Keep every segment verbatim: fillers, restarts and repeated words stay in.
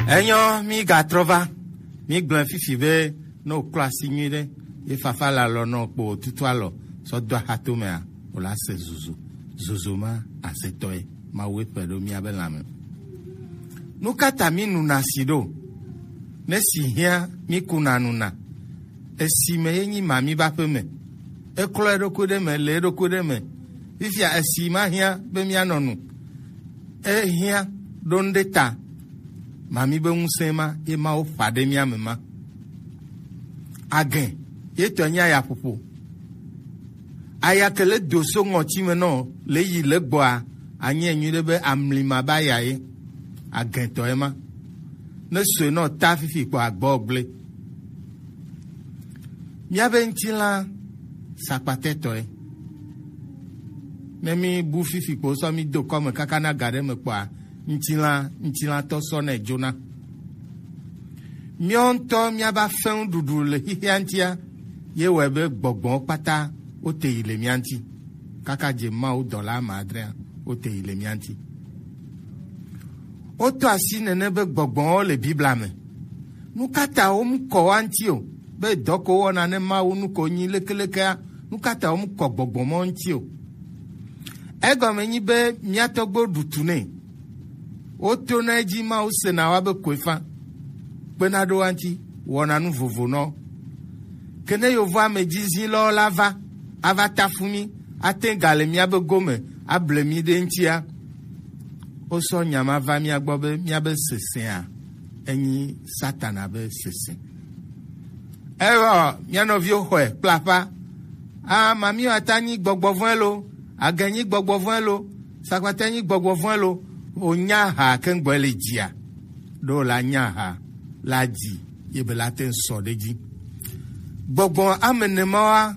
Enyɔ, mi gatrɔ va. Mi gblẽ fifi be, ne wòklɔ asi nyuiɖe, ye fafa le alɔ nɔ kpo wòtutu alɔ sɔ do axatomea, wòla se zozo. Zozo ma asetɔe, Mawu eƒe ɖo míabe lãme. Nu ka ta mi nuna si ɖo? Ne si hiã, mi kuna nuna. Esi me ye nyi mami ba ƒe me. Eklɔ eɖokui ɖe me, le eɖokui ɖe me. Fifia esi ma hiã be mianɔ nu. Ehiã ɖo ŋɖe ta. Mami be ŋusẽ ma ye Mawu ƒã ɖe mía me ma. Agẽ ye tɔ nyi ayaƒoƒo. Aya ke le do so ŋɔti me nɔ le yi le gbɔa, anyi enyi ɖe be amli ma ba ya ye. Agẽ tɔ ye ma. Ne soe nɔ ta fifi kpɔ agbɔ gble. Míabe ŋutilã sakpatɛtɔe. Ne mi bu fifi kpo sɔ mi do kɔme kaka na ga ɖe me kpɔa, ŋutilã ŋutilãtɔ sɔ nɛ dzona. Míawo ŋutɔ míaba fɛ̃ nuɖuɖu le xixea ŋutia, ye wɔe be gbɔgbɔwo kpata wote yi le mía ŋuti. Kaka dze Mawu dɔla ame adrea, wote yi le mía ŋuti. Woto asi nene be gbɔgbɔwo le Biblia me. Nu ka ta womkɔ woa ŋuti o? Be dɔ ko wɔna ne Mawu nu ko nyi lekelekea, nu ka ta womkɔ gbɔgbɔ mawo ŋuti o? Egɔme nyi be mía tɔgbuiwo ɖu tu nɛ. Wotona edzi Mawu sena woabe koefa. Kpena ɖo woa ŋuti, wɔna nu vovo nɔ. Ke ne yovo ame dzi zilɔwo la va, ava tafu mí, ate ŋu gale míabe gome, able mí ɖe ŋutia, wosɔ nya ma va mía gbɔ be míabe sesẽa, enyi Satana be sesẽ. Evɔ mía nɔviwo xɔe kple aƒa. A, mami ata nyi gbɔgbɔ vɔ̃e lo, agẽ nyi gbɔgbɔ vɔ̃e lo, sakpata nyi gbɔgbɔ vɔ̃e lo, wònya ha keŋgbɔe le dzia. Ɖo la nya ha la dzi ye be la te ŋu sɔ ɖe dzi. Gbɔgbɔ ame ene mawoa,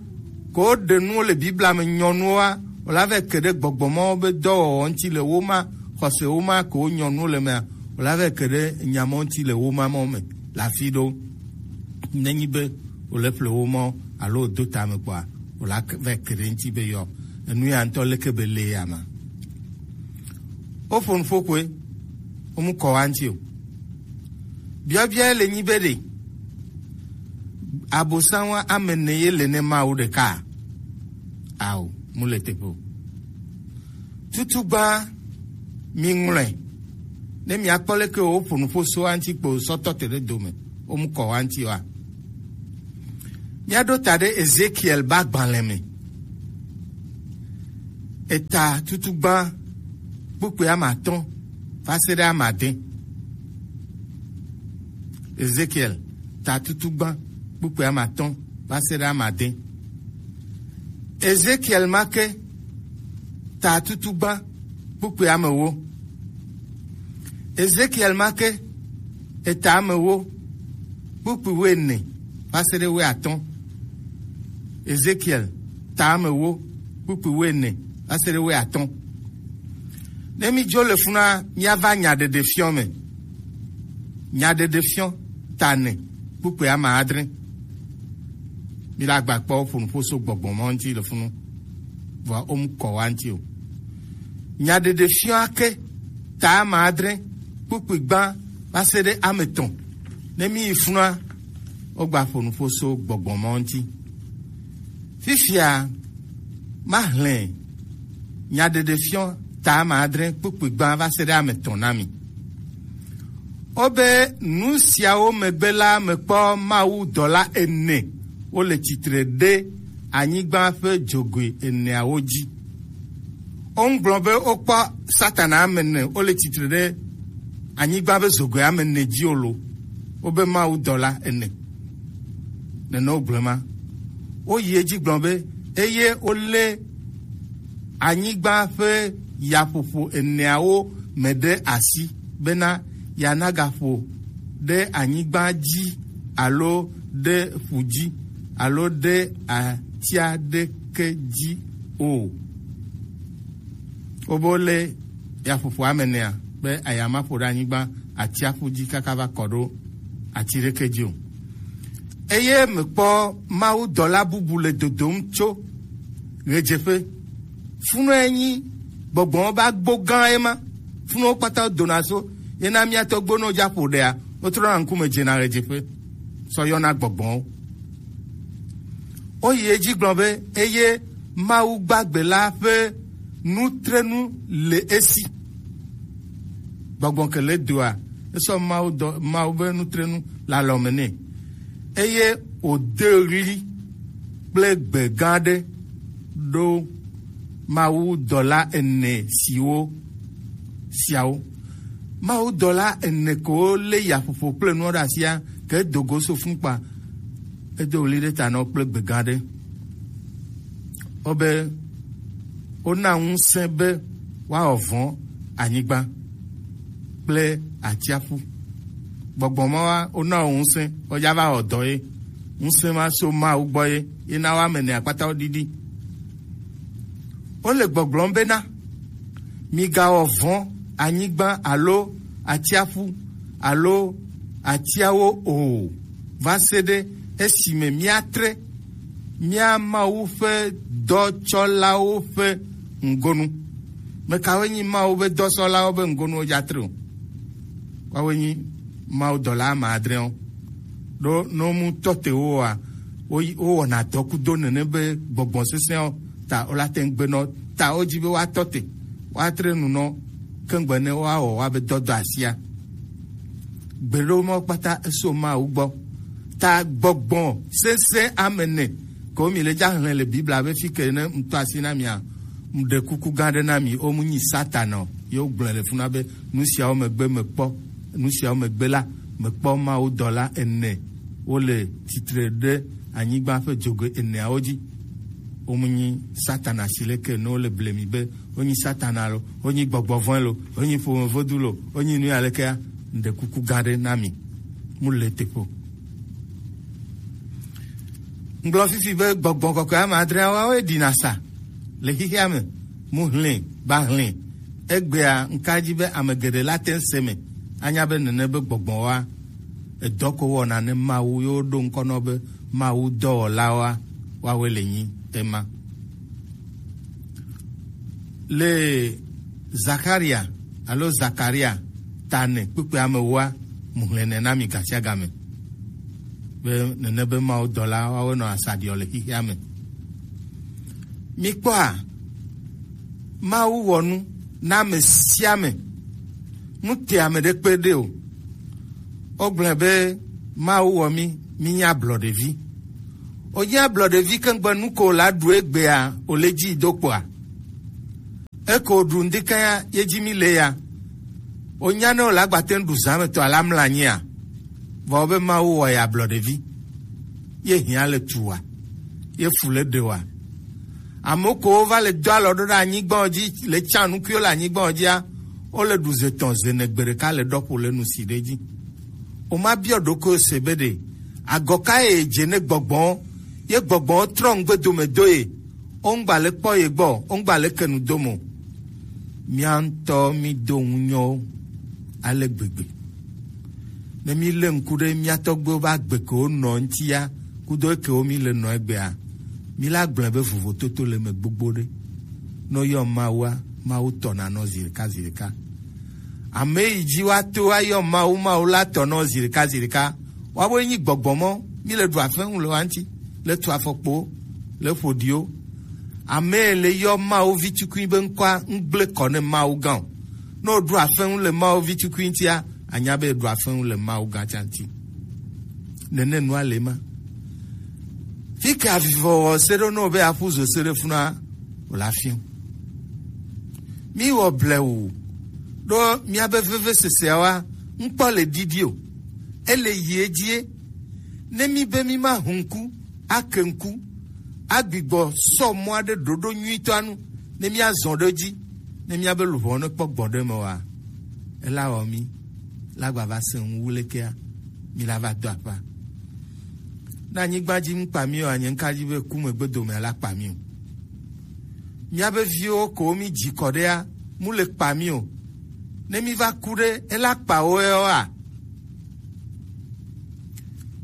ko woɖe nuwo le Biblia me nyɔnuwoa, wòla vɛ ke ɖe gbɔgbɔ mawo be dɔwɔwɔ ŋuti le wo ma, xɔse wo ma ke wo nyɔnuwo le mea, wòla vɛ ke ɖe nya mawo ŋuti le wo ma mawo me le afi ɖewo. Nenyi be wòle ƒle wo mawo alo wòdo tame kpɔa, wòla ke-, vɛ ke ɖe ŋuti be yɔ enu ya ŋutɔ leke be le ya ma. Woƒo nu ƒo koe, womkɔ wa ŋuti o. Biabia le nyi be ɖe Abosam wa ame ene ye le ne Mawu ɖeka? Ao, mu le teƒe o. Tutugba mi ŋlɔe. Ne miakpɔ leke woƒo nu ƒo so wa ŋuti kpo sɔ tɔ te ɖe dome, womkɔ wa ŋuti wa. Míaɖo ta ɖe Ezekiel be agbalẽ me. Eta tutugba kpukpui ame atɔ̃ va se ɖe ame ade. Ezekiel ta tutugba kpukpui ame atɔ̃ va se ɖe ame ade. Ezekiel ma ke ta tutugba kpukpui ame ewo. Ezekiel ma ke eta ame ewo kpukpui wuiene va se ɖe wuiatɔ̃. Ezekiel ta ame ewo kpukpui wuiene va se ɖe wuiatɔ̃. Ne mídzo le funa, míava nyaɖeɖefiɔ me. Nyaɖeɖefiɔ ta ene kpukpui ame adre. Míla gba kpɔ ƒo nu ƒo so gbɔgbɔ ma ŋuti le funu. Vɔa womkɔ wa ŋuti o. Nyaɖeɖefiɔ ake ta ame adre kpukpui gbã va se ɖe ame etɔ̃. Ne míyi funua, wogba ƒo nu ƒo so gbɔgbɔ ma ŋuti. Fifia, mahlẽ nyaɖeɖefiɔ ta ame adre kpukpui gbã va se ɖe ame etɔ̃ na mi. Wobe nu siawo megbe la, mekpɔ Mawu dɔla ene wole tsitre ɖe anyigba ƒe dzogoe eneawo dzi. Wogblɔ be wokpɔ Satana ame ene wole tsitre ɖe anyigba ƒe dzogoe ame ene dzi o lo. Wobe Mawu dɔla ene. Nene wogblɔ ma. Woyi edzi gblɔ be, eye wolé anyigba ƒe yaƒoƒo eneawo me ɖe asi, bena yeanagaƒo ɖe anyigba dzi alo ɖe ƒu dzi alo ɖe ati aɖeke dzi o. Wobe wolé yaƒoƒo ame enea be aya maƒo ɖe anyigba atsiaƒu dzi kaka va kɔ ɖo ati ɖeke dzi o. Eye mekpɔ mawudɔla bubu le dodom tso ɣedzeƒe. Funɔe nyi gbɔgbɔwo be agbo gã ye ma. Funɔwo kpata dona so Ye na mía tɔgbuiwo ne woja ƒo ɖea, wotrɔna ŋkume dzena ɣedzeƒe sɔ yɔna gbɔgbɔwo. Woyi edzi gblɔ be, eye Mawu gbagbe la ƒe nutrenu le esi. Gbɔgbɔ ke le doa, esɔ Mawu dɔ, Mawu be nutrenu le alɔme nɛ. Eye wòde ɣli kple gbe gã aɖe ɖo Mawu dɔla ene siwo siawo. Mawu dɔla ene ko lé yaƒoƒo kple nuwo ɖe asia, ke edo go so fun kpa. Edo ɣli ɖe ta na wo kple gbe gã aɖe. Wobe wona ŋusẽ be woawɔ vɔ̃ anyigba kple atsiaƒu. Gbɔgbɔ ma wa wona wo ŋusẽ, woja va wɔ dɔ ye. Ŋusẽ ma so Mawu gbɔ ye, ye na wo ame ene akpata wo ɖiɖi. Wole gbɔgblɔm bena, migawɔ vɔ̃ anyigba alo atsiaƒu alo atiawo o, va se ɖe esime míatre mía Mawu ƒe dɔtsɔlawo ƒe ŋgonu. Mekawoe nyi Mawu ƒe dɔsɔlawo ƒe ŋgonuwo dzatre o? Woawoe nyi Mawu dɔla ame adreawo. Ɖo ne womu tɔ te wo oa, wo, wowɔna dɔ kudo nene be gbɔgbɔ sesẽawo ta wola te ŋu gbenɔ ta wodzi be woatɔ te, woatre nu nɔ keŋgbe ne woawɔ woabe dɔdɔ asia. Gbeɖo mawo kpata eso Mawu gbɔ. Ta gbɔgbɔ sesẽ ame ene ko mi le dza hlẽ le Biblia be fi ke ne ŋutɔ asi na mia, ŋɖe kuku gã ɖe na mi, wo mu nyi Satana o. Ye wogblɔe le funa be nu siawo megbe mekpɔ, nu siawo megbe la, mekpɔ Mawu dɔla ene wole tsitre ɖe anyigba ƒe dzogoe eneawo dzi. Wo mu nyi Satana si leke ne wole ble mi be wonyi Satana lo, wonyi gbɔgbɔ vɔ̃e lo, wonyi ƒomevodu lo, wonyi nu ya lekea, ŋɖe kuku gã ɖe na mi. Mu le teƒe o. Ŋgblɔ fifi be gbɔgbɔ kɔkɔe ame adreawoe ɖina sa le xixea me. Mu hlẽ, ba hlẽ. Egbea ŋka dzi be ame geɖe la te ŋu se me anya be nene be gbɔgbɔwoa edɔ ko wɔna ne Mawu yewo ɖo ŋkɔ nɔ be Mawu dɔwɔlawoa, woawoe le nyi ema. Le Zakaria alo Zakaria ta ne kpukpui ame wua, mu hlẽ nɛ na mi gasiagame. Be nene be Mawu dɔla woawo nɔ asaɖiɔ le xixea me. Mikpɔa, Mawu wɔ nu na ame sia ame. Nu te ame ɖe kpe ɖe o. Wogblɔe be Mawu wɔ mí, mínye ablɔɖevi. Wònye ablɔɖevi keŋgbe nu ko wòla ɖu egbea, wòle dzi do kpoa? Eko ɖu ŋdika ya, ye dzi mi le ya. Wònya ne wòle agbate ŋu ɖu zã me tɔ ala mla nyia? Vɔ be Mawu wɔ ya ablɔɖevi. Ye hiã le tu wa. Ye fu le ɖe wa. Amewo ko wova le do alɔ ɖo ɖe anyigba dzi, le tsa nukuiwo le anyigba dzia, wole ɖu ze tɔn ze ne gbe ɖeka le ɖɔƒo le nu si ɖe dzi. Woma biɔ ɖokui se be ɖe, agɔ ka ye dze ne gbɔgbɔ, ye gbɔgbɔ trɔ ŋgbe dome do ye, wongba le kpɔ ye gbɔ, wongba le ke nu do mo. Mía ŋutɔ mí do ŋunyɔwo ale gbegbe. Ne mí lé ŋku ɖe mía tɔgbuiwo be agbe ke wonɔ ŋutia, kudo eke wo mí le nɔ egbea, mí la gblɔe be vovototo le me gbogbo ɖe. Ne woyɔ Mawua, Mawu tɔna nɔ zi ɖeka zi ɖeka. Ame yi dzi woato woayɔ Mawu, Mawu la tɔ nɔ zi ɖeka zi ɖeka. Woawoe nyi gbɔgbɔ mɔ, mí le ɖu afɛŋu le woa ŋuti, le tu afɔkpowo, le ƒoɖiwo. Ame yi le yɔ Mawu vi tukui be ŋkɔa, ŋgble kɔ ne Mawu gã o. Ne woɖu afɛŋu le Mawu vi tukui ŋutia, anya be eɖu afɛŋu le Mawu gã tsa ŋuti. Nene nua le ma. Fi ke avivɔ wɔ se ɖo ne wo be aƒu zo se ɖe funua, wòle afi o. Míwɔ blewu ɖo míabe veveseseawoa, ŋkpɔ le ɖiɖi o. Ele yi edzi ye. Ne mí be mí ma hu ŋku, ake ŋku, agbigbɔ sɔ mɔ aɖe ɖoɖo nyuitɔa nu, ne mía zɔ ɖe edzi, ne míabe luʋɔ ne kpɔ gbɔ ɖe eme oa, ela wɔ mí, la gba va se ŋu wu lekea, mí la va do aƒea. Ne anyigba dzi ŋu kpa mí oa, nye ŋka dzi be ku megbe dome la kpa mí o. Míabe viwo ko mí dzi kɔ ɖea, mu le kpa mí o. Ne mí va ku ɖe, ela kpa wo ya oa?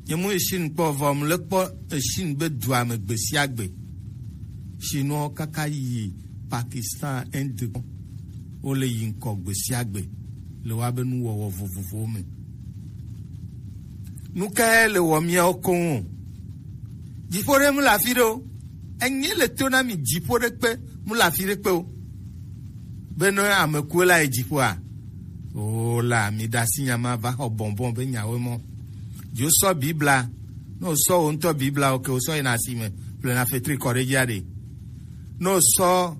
Nye mu yi Chine kpɔ vɔ, mu le kpɔ Chine be dua me gbe sia gbe. Chinois kaka yi Pakistan, Inde, wo le yi ŋkɔ gbe sia gbe. le woabe nuwɔwɔ vovovowo me. Nu kae le wɔ míawo koŋ o? Dziƒo ɖe mu le afi ɖe o. Enye le to na mi dziƒo ɖe kpe mu le afi ɖe kpe o. Be ne ame kue la yi dziƒoa? O la, mi ɖe asi nya ma va xɔ bɔnbɔn be nyawoe mɔ. Dzo sɔ Bibla, ne o sɔ wo ŋutɔ Bibla, o ke o sɔ yina asi me, ƒle na fetri kɔ ɖe dzia ɖe. Ne o sɔ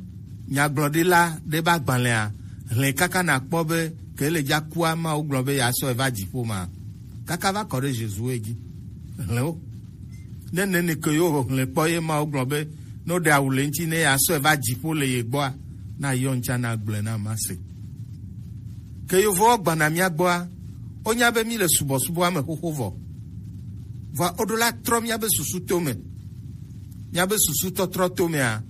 nyagblɔɖila ɖe ba gbalẽa, hlẽ kaka na kpɔ be ke le dza kua ma wo gblɔ be ya sɔ eva dziƒo ma. Kaka va kɔ ɖe Josue dzi. Hlẽ wo. Ne nene ke yo hlẽ kpɔ ye ma wo gblɔ be ne o ɖe awu le ŋuti ne ya sɔ eva dziƒo le ye gbɔa, na yɔ ŋutsa na gblɔe na ma se. Ke yovowo gbana mía gbɔa, wonya be mi le subɔsubɔa me xoxo vɔ. Vɔa woɖo la trɔ míabe susu tome. Míabe susu tɔtrɔ tomea,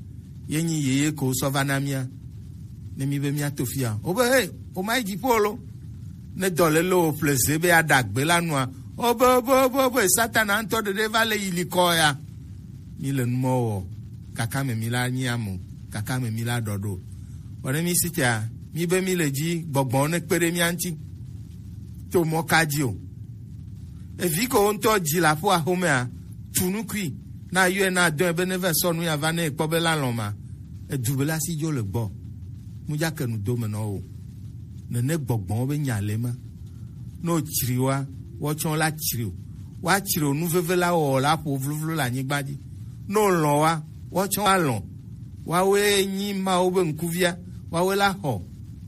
ye nyi yeye ko sɔ va na mía. Ne mi be mía to fia, o be he, o ma yi dziƒo lo. Ne dɔ le lo o ƒle ze be aɖagbe la nua, o be, o be, o be, o be, Satana ŋutɔ ɖeɖe va le yi likɔ ya. Mi le numɔ wɔ, kaka me mi la nyi amo, kaka me mi la ɖɔ ɖo. Vɔ ne mi si tia, mi be mi le dzi gbɔgbɔ ne kpe ɖe mía ŋuti. To mɔ ka dzi o. Evi ko ŋutɔ dzi le aƒo axomea, tu nukui, na yɔe na dɔe be ne va sɔ nu ya va ne ekpɔ be la lɔ̃ ma. Edu be la si dzo le gbɔ. Mu dza ke nu do me nɔ o. Nene gbɔgbɔwo be nya le ma. Ne o tsri wa, woatsɔ la tsri o. Woatsri o nu veve la wɔ la ƒo vlovlo le anyigba dzi. Ne o lɔ̃ wa, woatsɔ wa lɔ̃. Woawoe nyi Mawu be ŋkuvia, woawoe la xɔ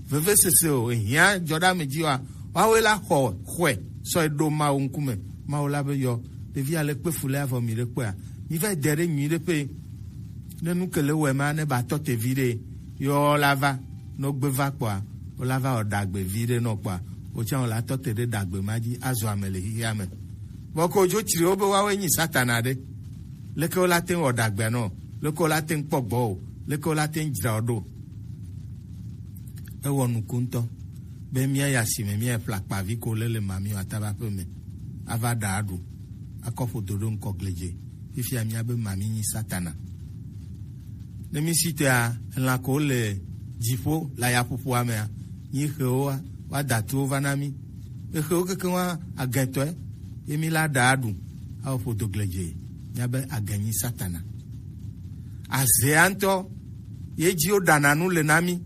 vevesese o, ehiã dzɔ ɖe ame dzi oa, woawoe la xɔ xɔe sɔ ɖo Mawu ŋkume. Mawu la be yɔ, ɖevi ale kpe fu le avɔ mi ɖe kpea, mi va de ɖe nyui ɖe ƒe, ne nu ke le wɔe ma ne ba tɔ te vi ɖe, yɔ la va, ne wogbe va kpɔa, wola va wɔ ɖagbe vi ɖe nɔ kpɔa, wotsã wola tɔ te ɖe ɖagbe ma dzi azɔ ame le xixia me. Vɔ ko dzo tsri wo be woawoe nyi Satana ɖe. Leke wola te ŋu wɔ ɖagbea nɔ? Leke wola te ŋu kpɔ gbɔ o? Leke wola te ŋu dzra wo ɖo? Ewɔ nuku ŋutɔ be míayi asime míayi ƒle akpavi ko le le mami o ataba ƒe me ava ɖa aɖu akɔ ƒodo ɖo ŋkɔ gledze. Fifia míabe mami nyi Satana. Ne mi si tea, lã ko le dziƒo le ayaƒoƒoa mea, nyi xewo wa, wa da tuwo va na mi. Exewo kekeŋ wa agɛtɔe, ye mi la ɖa aɖu, awɔ ƒodo gledze, míabe agɛ nyi Satana. Azea ŋutɔ, ye dzi wo ɖana nu le na mi.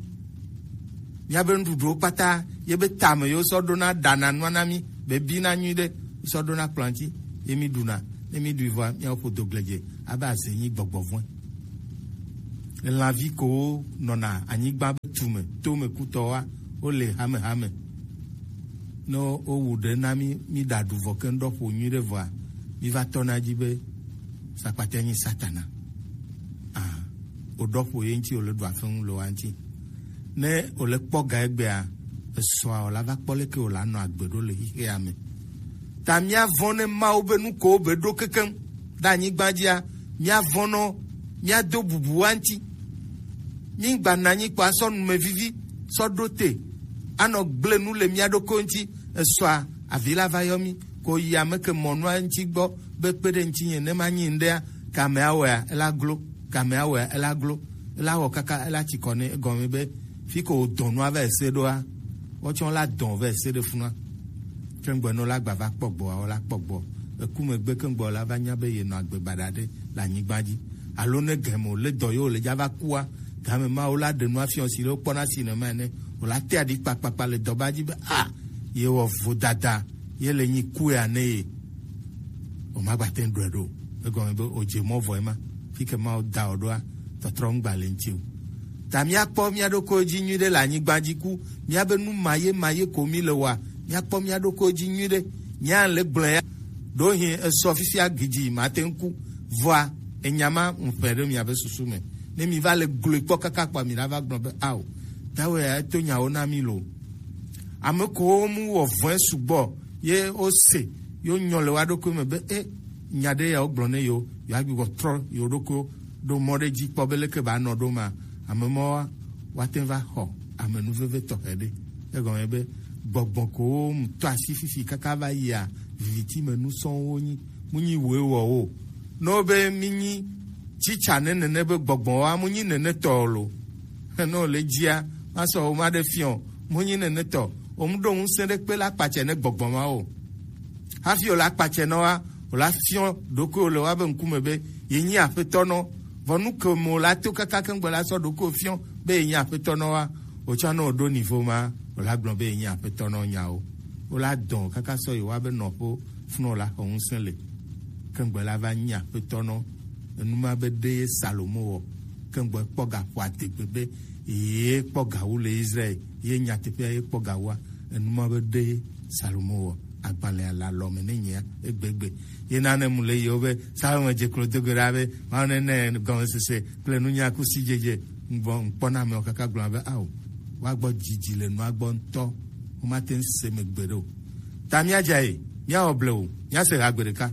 Míabe nuɖuɖuwo kpata, ye be tame ye wosɔ ɖona ɖana nua na mi, be bina nyui ɖe, wosɔ ɖona kplɔ̃a ŋuti, ye mi ɖuna, ne mi ɖui vɔa, míawo ƒodo gledze, abe aze nyi gbɔgbɔ vɔ̃e. Elãvi kowo nɔna anyigba be tume, tome kutɔwoa, wole hamehame. Ne wowu ɖe na mí, míɖa ɖu vɔ keŋ ɖɔ ƒo nyui ɖe vɔa, míva tɔna dzi be sakpatea nyi Satana. Ah, woɖɔ ƒo ye ŋuti wòle ɖu afeŋu le woa ŋuti. Ne wòle kpɔ ga egbea, esɔa wòla va kpɔ leke wòla nɔ agbe ɖo le xexea me. Ta míavɔ̃ ne Mawu be nu ko wobe ɖo kekeŋ ɖe anyigba dzia, míavɔ̃ nɔ, míado bubu woa ŋuti. Mígba nɔ anyi kpɔ asɔ numevivi sɔ ɖo te, anɔ gblẽ nu le mía ɖokuiwo ŋuti. Esɔa, avi la va yɔ mí, ko yi ame ke mɔ nua ŋuti gbɔ be kpe ɖe ŋutinye ne manyi ŋɖea, ke amea wɔea, ela glo, ke amea wɔea, ela glo, ela wɔ kaka, ela tsi kɔ nɛ, egɔme be fi ko wòdɔ nua va ese ɖoa, wotsɔ la dɔ va ese ɖe funua. Ke ŋgbe ne wola gba va kpɔ gbɔa, wola kpɔ gbɔ. Eku megbe ke ŋgbe wola va nya be yenɔ agbe baɖa ɖe le anyigba dzi. Alo ne gɛme wòle dɔ ye wòle dza va kua, game ma wola ɖe nua fiɔ si ɖe wokpɔna si nɛ ma ene. Wòla te aɖi kpakpakpa le dɔba dzi be, a, ye wɔ vodada, ye le nyi ku ya ne ye. O ma gba te ŋu ɖɔe ɖo. Egɔme be o dze mɔ vɔ ema. Fi ke ma wo da o ɖoa, tɔtrɔ ŋu gba le ŋuti o. Ta míakpɔ mía ɖokuiwo dzi nyuiɖe le anyigba dzi ku, míabe nu maye maye ko mí le wɔa, míakpɔ mía ɖokuiwo dzi nyuiɖe. Nya le gblɔe ya. Ɖewohĩ esɔ fifia gidi mate ŋu ku. Vɔa, enya ma ŋu ƒe ɖe miabe susu me. Ne mi va le gblɔe kpɔ kaka kpɔa, mi la va gblɔ be, ao, tawe ya eto nyawo na mi lo. Ame kowo mu wɔ vɔ̃e sugbɔ ye wose, ye wonyɔ le woa ɖokui me be, e, nya ɖe ya wogblɔ ne yewo, yewoagbugbɔ trɔ yewo ɖokuiwo ɖo mɔ ɖe dzi kpɔ be leke ba nɔ ɖo ma. Ame mawoa, woate ŋu va xɔ amenuveve tɔxɛ ɖe. Egɔme be gbɔgbɔ kowo mu tɔ asi fifi kaka va yia, viviti me nu sɔŋ wonyi. Mu nyi woe wɔ wo. Ne wobe mi nyi tsitsa ne nene be gbɔgbɔ wa, mu nyi nene tɔ o lo. Ne wòle dzia, masɔ wo ma ɖe fiɔ, mu nyi nene tɔ. Omu ɖo ŋusẽ ɖe kpe la kpatsɛ ne gbɔgbɔ ma o. Hafi o la kpatsɛ nɔ wa, o la fiɔ ɖokuiwo le wa be ŋkume be ye nyi aƒetɔ nɔ. Vɔ nu ke me o la to kaka keŋgbe la sɔ ɖokuiwo fiɔ be ye nyi aƒetɔ nɔ wa, o tsɔ ne o ɖo nivo ma, o la gblɔ be ye nyi aƒetɔ nɔ nyawo. O la dɔn kaka sɔ yi wa be nɔƒo funɔ la xɔ ŋusẽ le. Keŋgbe la va nyi aƒetɔ nɔ. Enu ma be ɖe ye Salomo wɔ. Keŋgbe kpɔ ga ƒo adegbe be ye kpɔ ga wu le Israel, ye nyateƒea ye kpɔ ga wua. Enu ma be ɖe Salomo wɔ. Agbalẽa le alɔ me ne nyea egbegbe. Ye nane mu le yewo be Salomo dze klo do go ɖa be Mawu ne ne gɔmesese kple nunya kusi dzedze. Ŋgbɔ ŋkpɔna amewo kaka gblɔ be ao, woagbɔ dzidzi le nua gbɔ ŋutɔ. Womate ŋu se megbe ɖo. Ta míadza ye, míawɔ blewu, míase ha gbe ɖeka.